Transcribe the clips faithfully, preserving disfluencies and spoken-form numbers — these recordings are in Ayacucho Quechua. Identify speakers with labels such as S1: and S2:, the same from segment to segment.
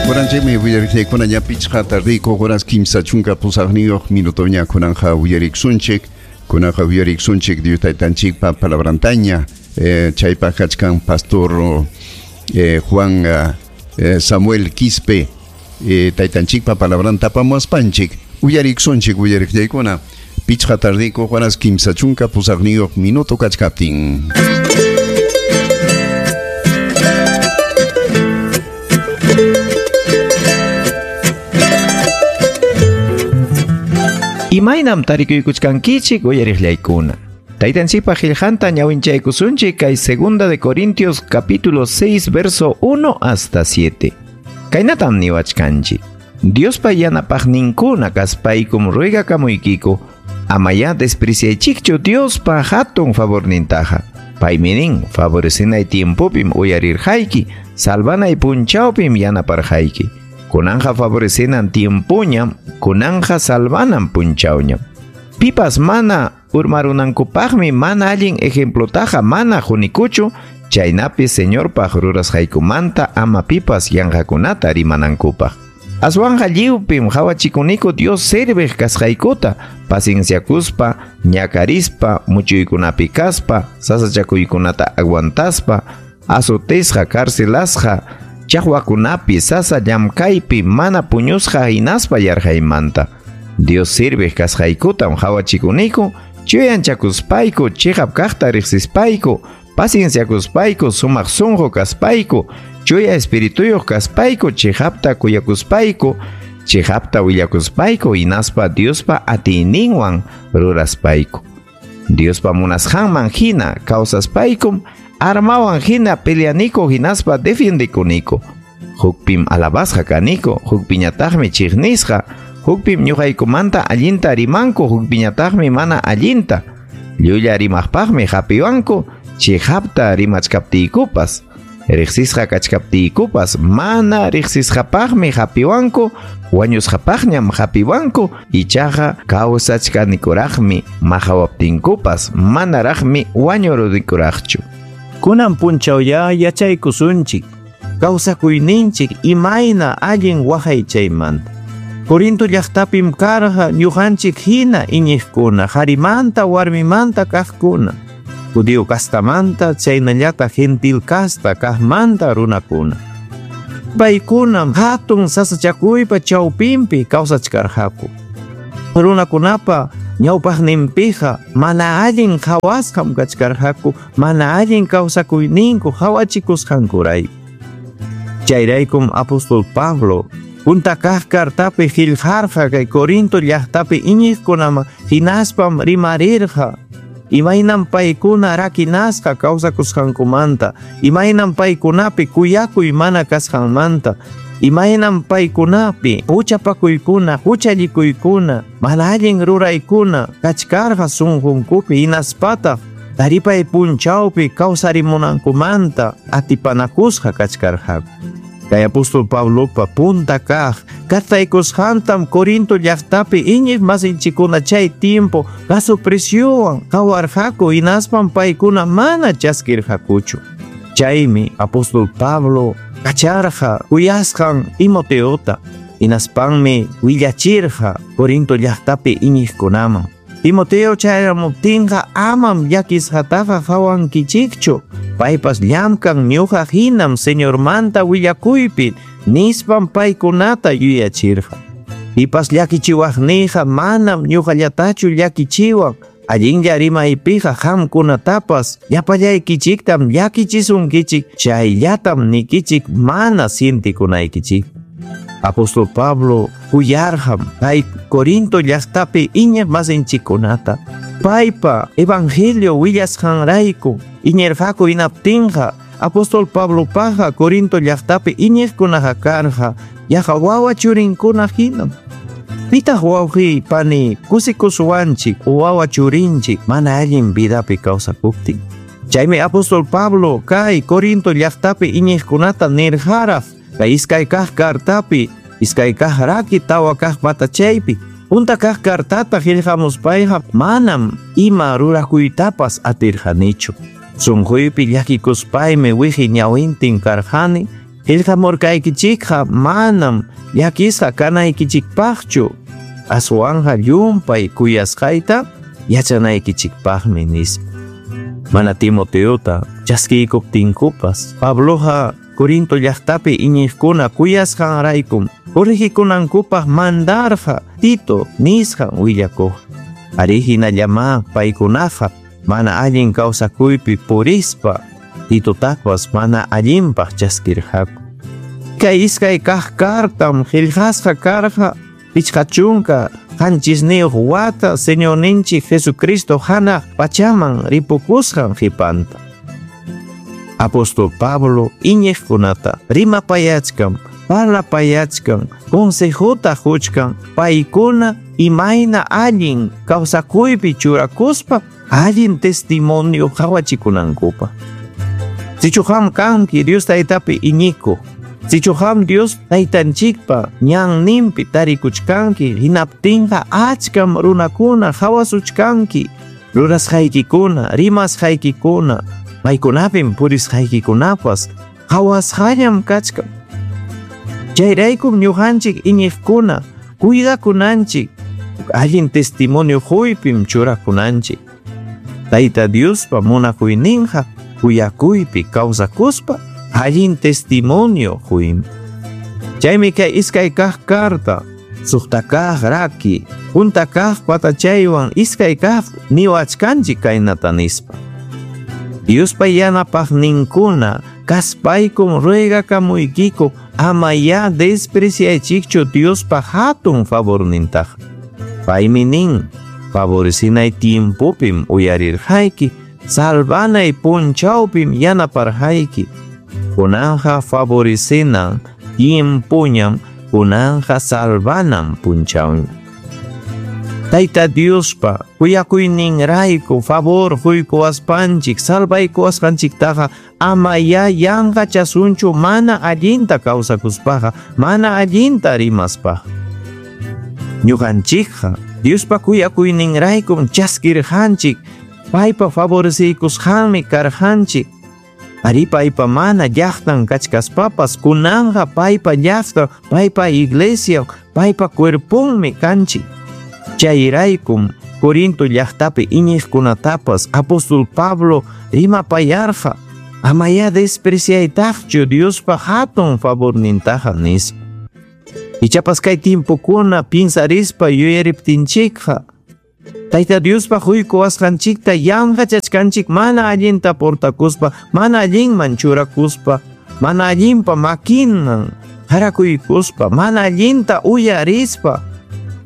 S1: Kuranchikmi uyariqllaykuna ña pichqa tardiyku horas kimsa chunka pusaqniyuq minutoña kunanja uyariksunchik kunaqa uyariksunchik Dios taytanchikpa palabrantaña eh, chaypaq kachkan pastor eh, Juan eh, Samuel Quispe eh, taytanchikpa palabranta apamuaspanchik uyariksunchik uyariqllaykuna pichqa tardiyku horas kimsa chunka pusaqniyuq minuto kachkaptin.
S2: Imaynam tarikuykuchkankichik uyariqllaykuna. Taytanchikpa qillqanta ñawinchaykusunchik kay Segunda de Corintios capítulo seis verso uno hasta siete. Kaynatam niwachkanchik. Diospa yanapaqninkuna kaspaykum ruegakamuykiku amayá despreciaychikchu Diospa hatun favornintaqa. Paymi nin favorecenay tiempopim uyarirqayki, salvanay punchawpim yanaparqayki. Kunanja favorecenan tiempoñam, kunanja salvanan punchawñam. Pipas mana urmarunankupaqmi mana allin ejemplotaqa mana qunikuchu, chaynapi Señorpaq rurasqaykumanta ama pipas yanqakunata rimanankupaq. Aswanja lliwpim qhawachikuniku Dios serviq kasqaykuta, pacienciakuspa, ñakarispa, muchuykunapi kaspa, sasachakuykunata aguantaspa, azotisqa, carcelasqa, chaqwakunapi, sasa llamkaypi, mana puñusqa hinaspa yarqaymanta. Dios sirviq kasqaykutam qhawachikuniku, chuyanchakuspayku, chiqap kaqta riqsispayku, pacienciakuspayku, sumaq sunqu kaspayku, chuya espirituyuq kaspayku, chiqapta kuyakuspayku, chiqapta willakuspayku, hinaspa Diospa atiyninwan ruraspayku. Diospa munasqanman hina kawsaspaykum, armawan hina peleaniku hinaspa defiendekuniku. Hukpim alabasqa kaniku, hukpiñataqmi chiqnisqa, hukpim ñuqaykumanta allinta rimanku, hukpiñataqmi mana allinta. Llulla rimaqpaqmi hapiwanku, chiqapta rimachkaptiykupas. Riqsisqa kachkaptiykupas, mana riqsisqapaqmi hapiwanku, wañusqapaqñam hapiwanku, ichaqa kawsachkanikuraqmi maqawaptinkupas, manaraqmi wañurunikuraqchu.
S3: Kunan punchawya yachaykusunchik, kawsakuyninchik imayna allin waqaychaymanta. Corinto llaqtapim karqa ñuqanchik hina iñiqkuna, qarimanta warmimanta kaqkuna, judío kastamanta chaynallataq gentil kasta kaqmanta runakuna. Paykunam hatun sasachakuypa chawpinpi kawsachkarqaku. Runakunapa ñawpaqninpiqa mana allin qhawasqam kachkarqaku, mana allin kawsakuyninku qhawachikusqankurayku. Chayraykum apóstol Pablo punta kaq kartapi qillqarqa kay Corinto llaqtapi iñiqkunaman hinaspam rimarirqa imaynam paykuna rakinasqa kawsakusqankumanta, imaynam paykunapi kuyakuy mana kasqanmanta, imaynam paykunapi huchapakuykuna, huchallikuykuna, mana allin ruraykuna kachkarqa sunqunkupi hinaspataq taripay punchawpi kawsarimunankumanta atipanakusqa kachkarqaku. Kay apóstol Pablopa punta kaq kartaykusqantam Corinto llaqtapi iñiq masinchikuna chay tiempo gasopresiowan qawarqaku hinaspam paykuna mana chaskirqakuchu. Chaymi apóstol Pablo kacharqa kuyasqan Timoteota hinaspanmi willachirqa Corinto llaqtapi iñiqkunaman. Timoteo chayamuptinqa amam llakisqataqa qawankichikchu, paypas llamkan ñuqa hinam Señormanta willakuypi nispam paykunata yuyachirqa. Pipas llakichiwaqniyqa manam ñuqallatachu llakichiwan, allinlla rimaypiqa qamkunatapas llapallaykichiktam llakichisunkichik, chayllatam nikichik mana sientikunaykichik. Apóstol Pablo kuyarqam kay Corinto llaqtapi iñiq masinchikkunata. Paypa evangelio willasqanrayku iñirqaku hinaptinqa apóstol Pablopaqa Corinto llaqtapi iñiqkunaqa karqa yaqa wawa churinkuna hinam. Pitaq wawqi pani kusikusuwanchik wawa churinchik mana allin vidapi kawsakuptin. Chaymi apóstol Pablo kay Corinto llaqtapi iñiqkunata nirqaraq kay iskay kaq kartapi, iskay kaq raki tawa kaq patachaypi. Punta kaq kartata qillqamuspayqa manam ima rurakuytapas atirqanichu. Sunquypi llakikuspaymi wiqi ñawintin karqani, Qillqamurqaykichikqa manam llakisqa kanaykichikpaqchu, aswanqa llumpay kuyasqayta yachanaykichikpaqmi nispa. Mana Timoteota chaskiykuptinkupas Pabloqa Corinto llaqtapi iñiqkuna kuyasqanraykum corregikunankupaq mandarqa Tito nisqan willakuq. Ari hinallamá paykunaqa mana allin kawsakuypi purispa Titotapas mana allinpaq chaskirqaku. Kay iskay kaq kartam qillqasqa karqa pichqa chunka qanchisniyuq wata Señorninchik Jesucristo hanaq pachaman ripukusqan qhipanta. Apóstol Pablo iñiqkunata rimapayachkan, parlapayachkan, consejota quchkan paykuna imayna allin kawsakuypi churakuspa allin testimonio qhawachikunankupaq. Sichu qam kanki Dios Taytapi iñikuq, sichu qam Dios Taytanchikpa ñanninpi tarikuchkanki, hinaptinqa achkam runakuna qhawasuchkanki, rurasqaykikuna, rimasqaykikuna, maykunapim purisqaykikunapas qhawasqallam kachkan. Chayraykum ñuqanchik iñiqkuna cuidakunanchik, allin testimonio quypim churakunanchik. Tayta Diospa munakuyninqa kuyakuypi kawsakuspa allin testimonio quymi. Chaymi kay iskay kaq karta suqta kaq raki punta kaq patachaywan iskay kaq niwachkanchik kaynata nispa. Diospa yanapaqninkuna kaspaykum ruegakamuykiku ama ya despreciaychikchu Diospa hatun favornintaqa. Paymi nin, favorecinay tiempopim uyarirqayki, salvanay punchawpim yanaparqayki. Kunanqa favorecinan tiempoñam, kunanqa salvanan punchawñam. Tayta Diospa kuyakuyninrayku favor quykuwaspanchik salvaykuwasqanchiktaqa ama ya yanqachasunchu mana allinta kawsakuspaqa, mana allinta rimaspaqa. Ñuqanchikqa Diospa kuyakuyninraykum chaskirqanchik, paypa favoreciykusqanmi karqanchik. Ari paypa mana llaqtan kachkaspapas kunanqa paypa llaqtan, paypa iglesia, paypa cuerponmi kanchik. Chayraykum Corinto llaqtapi iñiqkunatapas apóstol Pablo rimapayarqa ama ya despreciaytaqchu Diospa hatun favornintaqa nispa. Ichapas kay tiempokuna pinsarispa yuyariptinchikqa Tayta Diospa quykuwasqanchikta yanqachachkanchik mana allinta portakuspa, mana allinman churakuspa, mana allinpa makinman harakuykuspa, mana allinta uyarispa.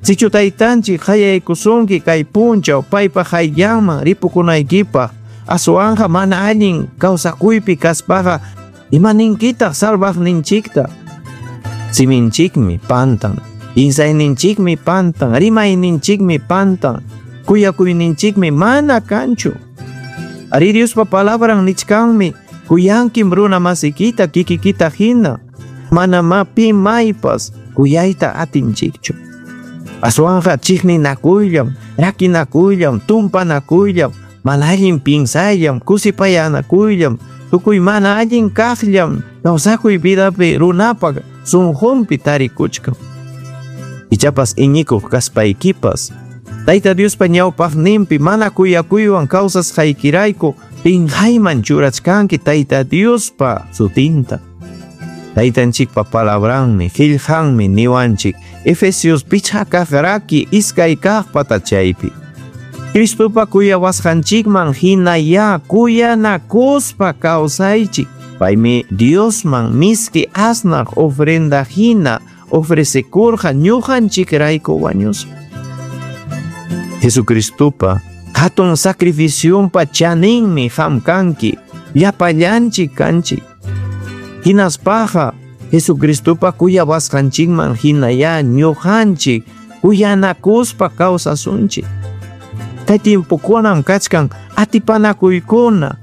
S3: Sichu taytanchik qayaykusunki kay punchaw paypa qayllanman ripukunaykipaq, aswanqa mana allin kawsakuypi kaspaqa imaninkitaq salvaqninchikta. Siminchikmi pantan, insayninchikmi pantan, rimayninchikmi pantan, kuyakuyninchikmi mana kanchu. Ari Diospa palabran nichkanmi, kuyankim runa masikita kikikita hina, manamá pi maypas kuyayta atinchikchu. Aswanqa chiqninakuyllam, rakinakuyllam, tumpanakuyllam, mana allin pinsayllam, kusipayanakuyllam, tukuy mana allin kaqllam kawsakuy vidapi runapaq sunqunpi tarikuchkan. Ichapas iñikuq kaspaykipas Tayta Diospa ñawpaqninpi mana kuyakuywan kawsasqaykirayku pinqayman churachkanki Tayta Diospa sutinta. Taytanchikpa palabranmi, qillqanmi niwanchik Efesios pichqa kaq raki iskay kaq patachaypi. Cristopa kuyawasqanchikman hinaya kuyanakuspa kawsaychik. Paymi Diosman miski asnaq ofrenda hina ofrecekurqa ñuqanchikrayku wañuspa. Jesucristopa hatun sacrificionpa chaninmi qam kanki, llapallanchik kanchik. Hinaspaqa Jesucristopa kuyawasqanchikman hinaya ñuqanchik kuyanakuspa kawsasunchik. Kay tiempokunam kachkan atipanakuykuna.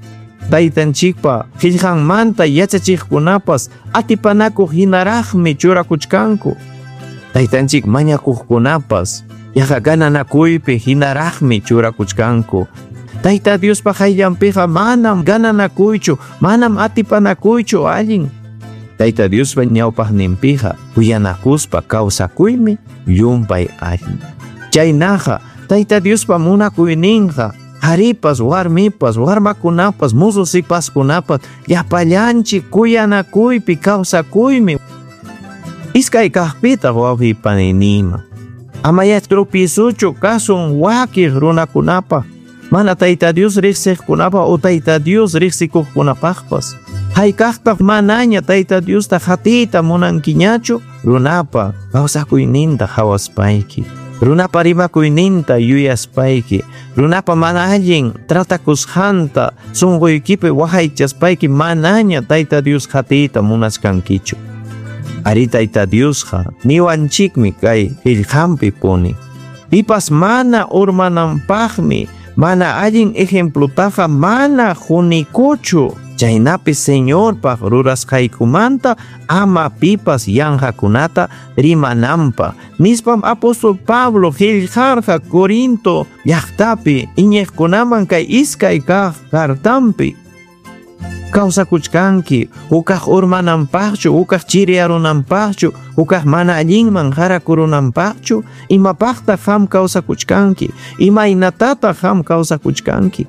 S3: Taytanchikpa qillqanmanta yachachiqkunapas atipanakuq hinaraqmi churakuchkanku. Taytanchik mañakuqkunapas yaqa gananakuypi hinaraqmi churakuchkanku. Tayta Diospa qayllanpiqa manam gananakuychu, manam atipanakuychu allin. Tayta Diospa ñawpaqninpiqa kuyanakuspa kawsakuymi llumpay allin. Chaynaqa Tayta Diospa munakuyninqa qharipas, warmipas, warmakunapas, musu sipaskunapas llapallanchik kuyanakuypi kawsakuymi. Iskay kaqpitaq wawqi paninima. Amaya tropiezuchu kasun wakiq runakunapaq, mana Tayta Dios riqsiqkunapaq o Tayta Dios riqsikuqkunapaqpas. Haykaqtaq manaña Tayta Diosta qatiyta munankiñachu runapa kawsakuyninta hawaspayki, runapa rimakuyninta yuyaspayki, runapa mana allin tratakusqanta sunquykipi waqaychaspayki manaña Tayta Dios qatiyta munachkankichu. Ari Tayta Diosqa niwanchikmi kay qillqanpi puni. Pipas mana urmananpaqmi mana allin ejemplutaqa mana hunikuchu. Chaynapi Señorpaq rurasqaykumanta ama pipas yanqakunata rimananpaq. Nispam apóstol Pablo qillqarqa Corinto llaqtapi iñiqkunaman kay iskay kaq cartampi. Kawsakuchkanki hukaq urmananpaqchu, hukaq chiriyarunanpaqchu, hukaq mana allinman harakurunanpaqchu, imapaqtaq qam kawsakuchkanki, imaynatataq qam kawsakuchkanki.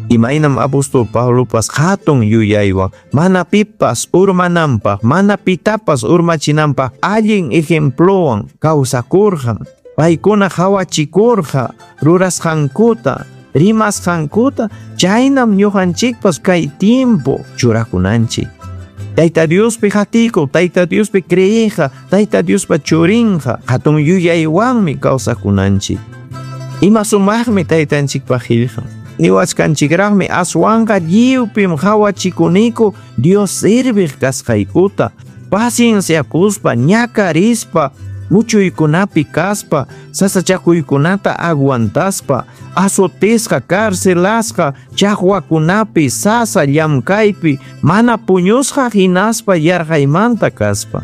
S3: Imaynam apóstol Pablopas hatun yuyaywan mana pipas urmananpaq, mana pitapas urmachinanpaq allin ejemplowan kawsakurqa. Paykuna hawachikurqa rurasqankuta, rimasqankuta, chaynam ñuqanchikpas kay tiempo churakunanchik. Tayta Diospi hatikuq, Tayta Diospi creeqa, Tayta Diospa churinqa hatun yuyaywanmi kawsakunanchik. Ima sumaqmi Taytanchikpaq qillqan. Niwachkanchikraqmi aswanqa lliwpim hawachikuniku Dios serviq kasqaykuta, pacienciakuspa, ñakarispa, muchuykunapi kaspa, sasachakuykunata aguantaspa, azotisqa, carcelasqa, chaqwakunapi, sasa llamkaypi, mana puñusqa hinaspa yarqaymanta kaspa.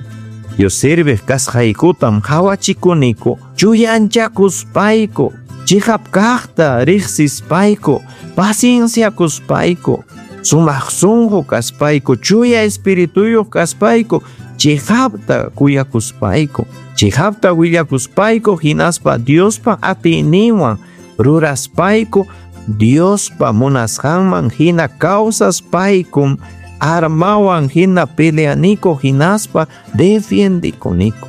S3: Dios serviq kasqaykutam hawachikuniku, chuyanchakuspayku, chiqap kaqta riqsispayku, pacienciakuspayku, sumaq sunqu kaspayku, chuya espirituyuq kaspayku, chiqapta kuyakuspayku, chiqapta willakuspayku, hinaspa Diospa atiyninwan ruraspayku, Diospa munasqanman hina kawsaspaykum, armawan hina peleaniku hinaspa defiendikuniku.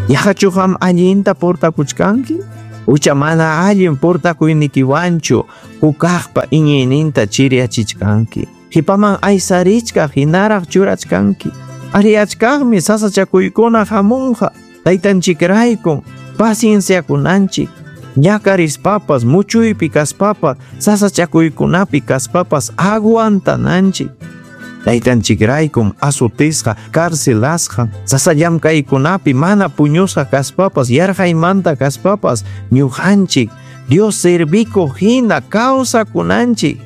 S3: Yaqachu qam allinta portakuchkanki? Ucha mana allin portakuynikiwanchu hukaqpa iñiyninta chiriyachichkanki. Qipaman aysarichkaq hinaraq churachkanki. Ariachkaqmi sasachakuykuna hamunqa taytanchikraykum pacienciakunanchik. Ñakarispapas, muchuypi kaspapas, sasachakuykunapi kaspapas aguantananchik. Taytanchikraykum azotisqa, carcelasqa, sasa llamkaykunapi mana puñusqa kaspapas, yarqaymanta kaspapas, ñuqanchik Dios servikuq hina kawsakunanchik.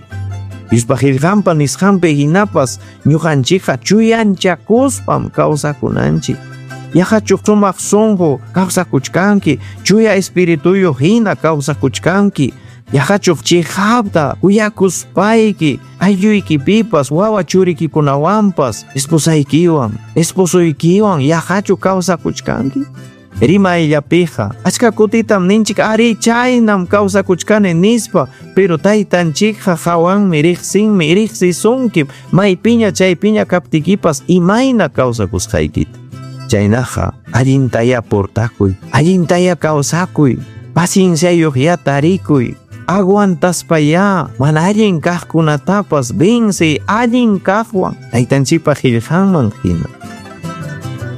S3: Diospa qillqanpa nisqanpi hinapas ñuqanchikqa chuyanchakuspam kawsakunanchik. Yaqachu sumaq sunqu kawsakuchkanki, chuya espirituyuq hina kawsakuchkanki. Yaqachu chiqapta kuyakuspayki aylluykipipas, wawa churikikunawanpas, esposaykiwan, esposuykiwan yaqachu kawsakuchkanki. Rimayllapiqa achka kutitam ninchik ari chaynam kawsakuchkani nispa, pero taytanchikqa hawanmi riqsinmi, riqsisunkim maypiña chaypiña kaptikipas imayna kawsakusqaykita. Chaynaqa allintaya portakuy, allintaya kawsakuy, pacienciayuqya tarikuy, aguantaspaya mana allin kaqkunatapas vence allin kaqwan taytanchikpa qillqanman hina.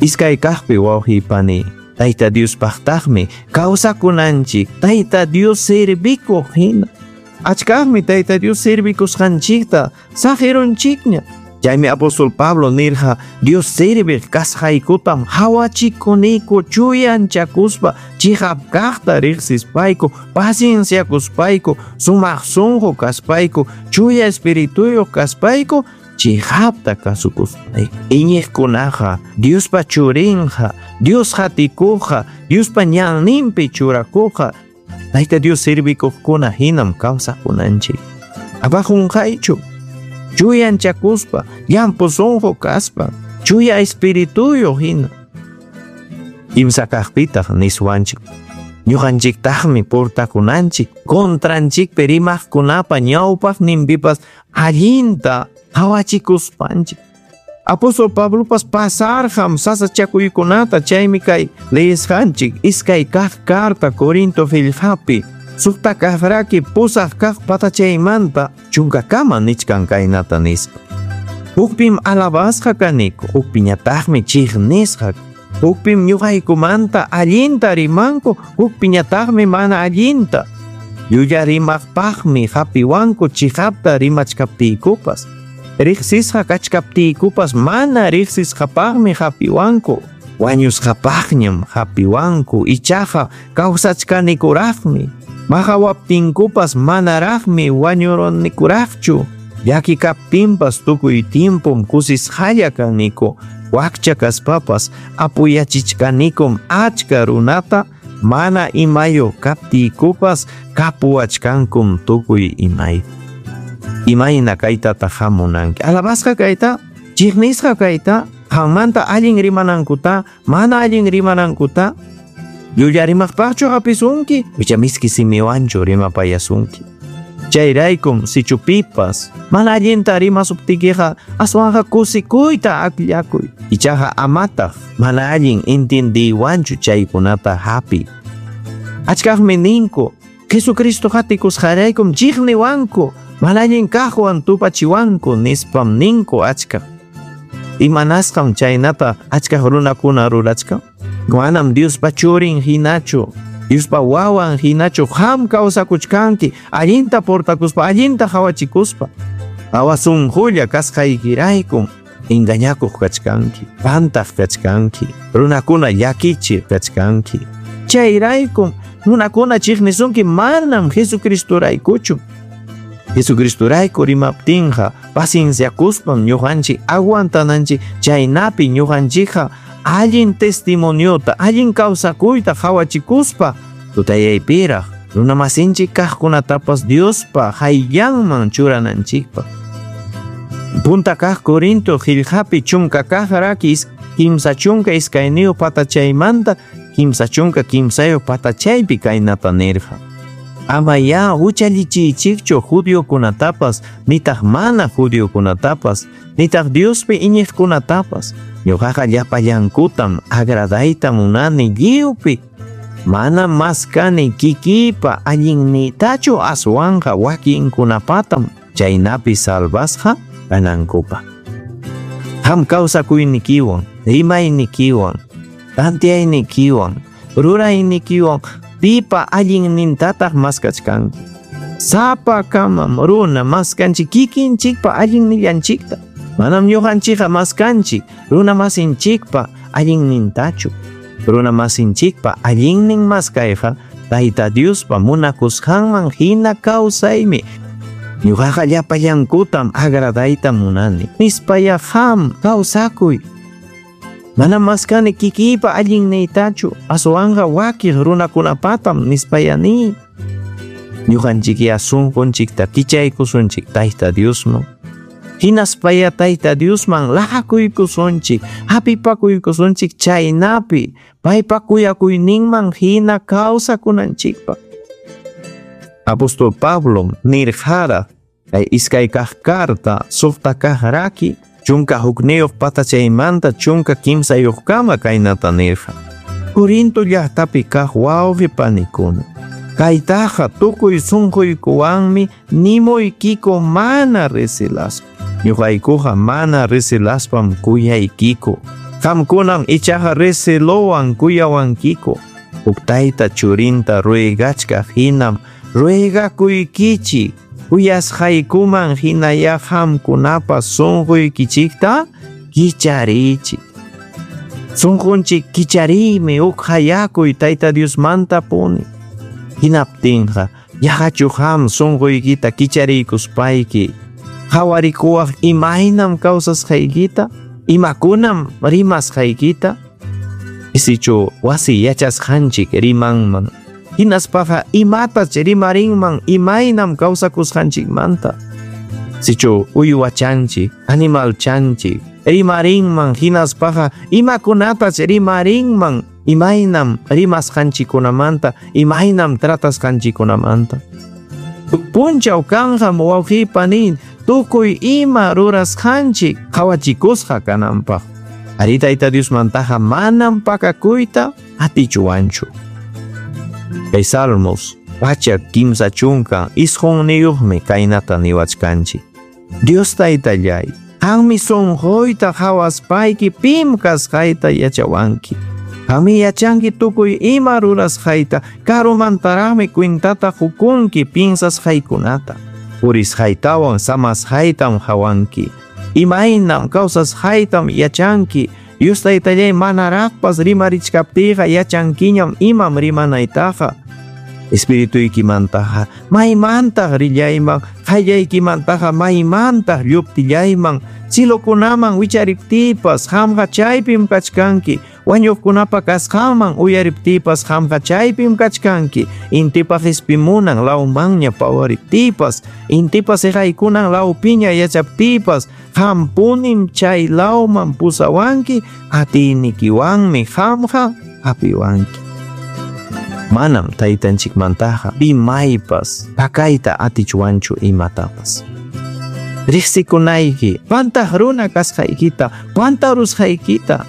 S3: Iskay kaqpi wawqi pani, Tayta Diospaqtaqmi kawsakunanchik Tayta Dios servikuq hina. Achkaqmi Tayta Dios servikusqanchikta saqirunchikña. Chaymi apóstol Pablo nirqa Dios serviq kasqaykutam hawachikuniku chuyanchakuspa, chiqap kaqta riqsispayku, pacienciakuspayku, sumaq sunqu kaspayku, chuya espirituyuq kaspayku, chiqapta kasukuspayku. Iñiqkunaqa Diospa churinqa, Dios hatikuqqa, Diospa ñanninpi churakuqqa, Tayta Dios servikuqkuna hinam kawsakunanchik. Ama qunqaychu, chuyanchakuspa, llampu sunqu kaspa, Chuya espirituyuq hina. Kimsa kaqpitaq niswanchik. Ñuqanchiktaqmi portakunanchik contranchikpi rimaqkunapa ñawpaqninpipas allinta qawachikuspanchik. Apóstol Pablopas pasarqam sasachakuykunata chaymi kay leesqanchik iskay kaq carta Corinto qillqapi suqta kaq raki pusaq kaq patachaymanta chunkakama nichkan kaynata nispa. Hukpim alabasqa kaniku, hukpiñataqmi chiqnisqa. Hukpim ñuqaykumanta allinta rimanku, hukpiñataqmi mana allinta. Llulla rimaqpaqmi hapiwanku chiqapta rimachkaptiykupas. Riqsisqa kachkaptiykupas mana riqsisqapaqmi hapiwanku. Wañusqapaqñam hapiwanku, ichaqa kawsachkanikuraqmi. Maqawaptinkupas manaraqmi wañurunikuraqchu. Llaki kaptinpas tukuy tiempom kusisqalla kaniku. Wakcha kaspapas apuyachichkanikum achka runata, mana imayuq kaptiykupas kapuwachkankum tukuy imay. Imayna kaytataq hamunanki. Alabasqa kayta, chiqnisqa kayta, qammanta allin rimanankuta, mana allin rimanankuta, llulla rimaqpaqchu hapisunki, icha miski simiwanchu rimapayasunki. Chayraykum sichu pipas mana allinta rimasuptikiqa aswanqa kusikuyta akllakuy. Ichaqa amataq mana allin intindiywanchu chaykunata hapi. Achkaqmi ninku Jesucristo hatikusqaraykum chiqniwanku, mana allin kaqwan tupachiwanku nispam ninku achkaq. Imanasqam chaynata achkaq runakuna rurachkan? Manam Diospa churin hinachu, Diospa wawan hinachu qam kawsakuchkanki allinta portakuspa, allinta hawachikuspa. Awasunqulla kasqaykiraykum engañakuq kachkanki, pantaq kachkanki, runakuna llakichiq kachkanki. Chayraykum runakuna chiqnisunki manam Jesucristoraykuchu. Jesucristorayku rimaptinqa pacienciakuspam ñuqanchik aguantananchik, chaynapi ñuqanchikqa allin testimoniota, allin kawsakuyta hawachikuspa tutayaypiraq runamasinchik kaqkunatapas Diospa hayllanman churananchikpaq. Punta kaq Corinto qillqapi chunka kaq raki kimsa chunka iskayniyuq patachaymanta kimsa chunka kimsayuq patachaypi kaynata nirqa. Ama ya huchallichiychikchu judiokunatapas, nitaq mana judiokunatapas, nitaq Diospi iñiqkunatapas. Ñuqaqa llapallankutam agradayta munani lliwpi. Mana maskani kikipa allinniytachu aswanqa wakinkunapatam chaynapi salvasqa kanankupaq. Qam kawsakuynikiwan, rimaynikiwan, tantiyaynikiwan, ruraynikiwan pipa allinnintataq maskachkanki. Sapakamam runa maskanchik kikinchikpa allinnillanchikta. Manam ñuqanchikqa maskanchik runa masinchikpa allinnintachu. Runa masinchikpa allinnin maskayqa Tayta Diospa munakusqanman hina kawsaymi. Ñuqaqa llapallankutam agradayta munani. Nispaya qam kawsakuy. Manam maskani kikiypa allinniytachu, aswanqa wakiq runakunapatam nispaya niy. Ñuqanchikya sunqunchikta kichaykusunchik Tayta Diosman. Hinaspaya Tayta Diosman laqakuykusunchik, hapipakuykusunchik chaynapi paypa kuyakuyninman hina kawsakunanchikpaq. Apóstol Pablo nirqara kay iskay kaq carta suqta kaq raki chunka hukniyuq patachaymanta chunka kimsayuqkama kaynata nirqa. Corinto llaqtapi kaq wawqi panikuna, kaytaqa tukuy sunquykuwanmi nimuykiku mana resilaspa. Ñuqaykuqa mana resilaspam kuyaykiku. Qamkunam ichaqa resilowan kuyawankiku. Huk tayta churinta ruegachkaq hinam ruegakuykichik. Kuyasqaykuman hinaya qamkunapa sunquykichikta kichariychik. Sunqunchik kichariymi huk hayakuy Tayta Diosmanta puni. Hinaptinqa yaqachu qam sunquykita kichariykuspayki qawarikuwaq imaynam kawsasqaykita, imakunam rimasqaykita. Isichu wasi yachasqanchik rimanman, hinaspaqa imatach rimarinman imaynam kawsakusqanchikmanta. Sichu uywachanchik, animalchanchik, Rimarinman hinaspaqa imakunatach rimarinman imaynam rimasqanchikkunamanta, imaynam tratasqanchikkunamanta. Punchaw kanqam wawqipani tukuy ima rurasqanchik qawachikusqa kananpaq. Ari Tayta Diosmantaqa manam pakakuyta atichuwanchu. Kay Salmos pachak kimsa chunka isqunniyuqmi kaynata niwachkanchik. Dios Taytallay, qanmi sunquyta qawaspayki pim kasqayta yachawanki. Qanmi yachanki tukuy ima rurasqayta, karumantaraqmi kwintata qukunki pinsasqaykunata. Purisqaytawan samasqaytam qawanki. Imaynam kawsasqaytam yachanki. Dios Taytallay manaraqpas rimarichkaptiyqa yachankiñam imam rimanaytaqa. Espirituykimantaqa maymantaq rillayman, qayllaykimantaqa maymantaq lluptillayman, cilokunaman wichariptiypas qamqa chaypim kachkanki, wañuqkunapa kasqanman uyariptiypas qamqa chaypim kachkanki, intipa qispimunan lawmanña pawariptiypas, intipa siqaykunan lawpiña yachaptiypas, qampunim chay lawman pusawanki, atiynikiwanmi qamqa hapiwanki. Manam taytanchikmantaqa pimaypas pakayta atichwanchu imatapas. Riqsikunayki, pantaq runa kasqaykita, pantarusqaykita,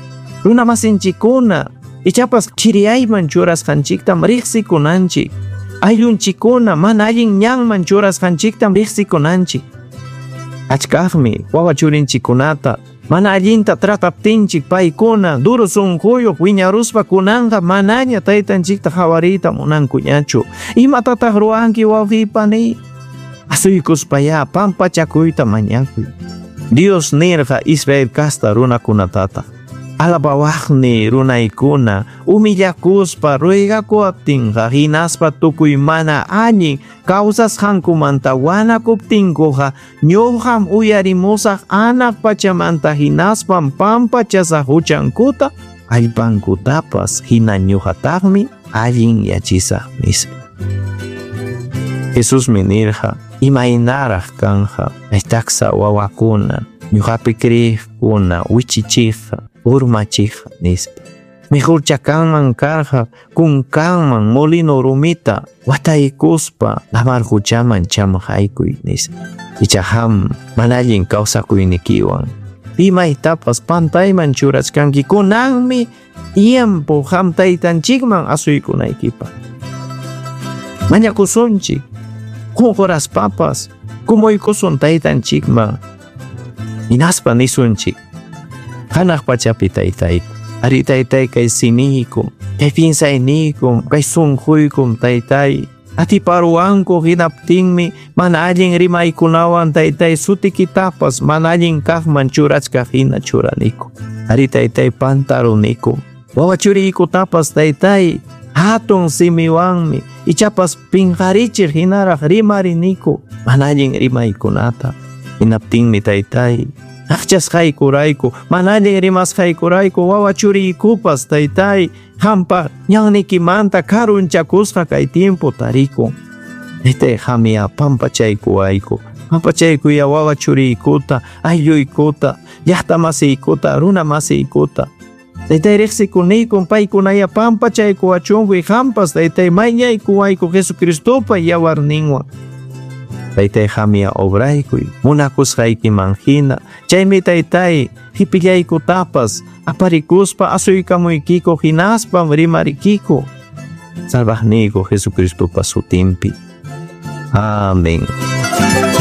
S3: runa masinchikkuna, ichapas chiriyayman churasqanchiktam riqsikunanchik, ayllunchikkuna mana allin ñanman churasqanchiktam riqsikunanchik. Achkaqmi wawa churinchikkunata mana allinta trataptinchik paykuna duro sunquyuq wiñaruspa kunanqa manaña taytanchikta qawariyta munankuñachu. Imatataq ruwanki wawqipani? Asuykuspayá pampachakuyta mañakuy. Dios nirqa Israel kasta runakunatata. Alabawaqni runaykuna humillakuspa ruegakuwaptinqa hinaspa tukuy mana allin kawsasqankumanta wanakuptinkuqa ñuqam uyarimusaq anaq pachamanta hinaspam pampachasaq huchankuta allpankutapas hina ñuqataqmi allin yachisaq nispa. Jesusmi nirqa imaynaraq kanqa taksa wawakuna ñuqapi kriqkuna wichichiqqa urmachiqqa nispa. Mejorcha kanman karqa kunkanman molino rumita wataykuspa lamar huchaman chamqaykuy nispa. Icha qam mana allin kawsakuynikiwan pimaytapas pantayman churachkanki kunanmi tiempo qam taytanchikman asuykunaykipaq. Mañakusunchik qunquraspapas kumuykusun taytanchikman hinaspa nisunchik hanaq pachapi taytayku, ari taytay kay simiykum, kay pinsaynikum, kay sunquykum taytay. Atiparuwanku hinaptinmi mana allin rimaykunawan taytay sutikitapas mana allin kaqman churachkaq hina churaniku. Ari taytay pantaruniku. Wawa churiykutapas taytay hatun simiwanmi ichapas pinqarichiq hinaraq rimariniku mana allin rimaykunata. Hinaptinmi taytay aqchasqaykurayku, mana allin rimasqaykurayku wawa churiykupas taytay qampa ñanniykimanta karunchakusqa kay tiempo tarikun. Taytay qamya pampachaykuwayku, pampachaykuya wawa churiykuta, aylluykuta, llaqta masiykuta, runa masiykuta. Taytay riqsikuniykum paykunaya pampachaykuwachunku qampas taytay mañaykuwayku Jesucristopa yawarninwan. Taytay qamya obraykuy munakusqaykiman hina, chaymi taytay hipillaykutapas aparikuspa asuykamuykiku hinaspam rimarikiku Salvaqniyku Jesucristopa sutinpi. Amén.